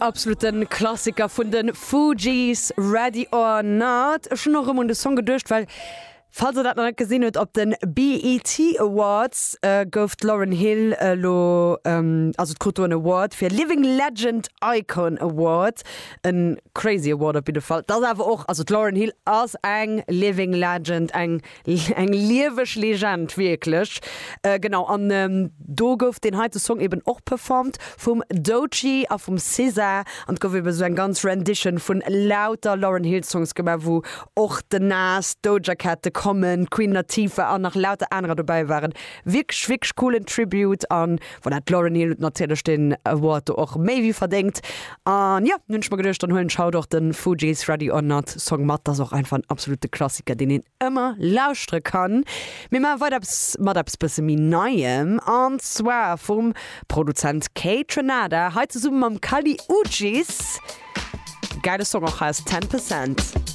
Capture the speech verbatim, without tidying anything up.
Absoluten Klassiker vun den Fugees, Ready or Not. Ech hunn och rëm un de Song geduecht, well falls der dat nach net gesinn hutt, op den BET Awards gouf d'Lauryn Hill elo, also krut do en Award fir Living Legend Icon Award. En crazy Award op jidde Fall. Dat ass awer och, also d'Lauryn Hill ass eng Living Legend, eng eng lieweg Legend wierklech. Genau, an do gouf deen heite Song eben och performt vum Doechii a vum SZA an et gouf eben esou eng ganz Rendition vun lauter Lauryn Hill Songs gemaach, wou och den Nas, Doja Cat, de Common, Queen Latifah an nach lauter anerer dobäi waren. Wierklech, wierklech coolen Tribute an voilà, d'Lauryn Hill huet natierlech deen Award do och méi wéi verdéngt. An jo, hunn ech mer geduecht, dann huelen ech haut och de Fugees Ready or Not Song mat, dat ass och einfach en absolute Klassiker, deen een ëmmer lauschtere kann. Mir maache weider eppes mat eppes bësse méi Neiem an zwar vum Produzent Kaytranada, hei zesumme mam Kali Uchis. Gäile Song och, heißt Ten Percent.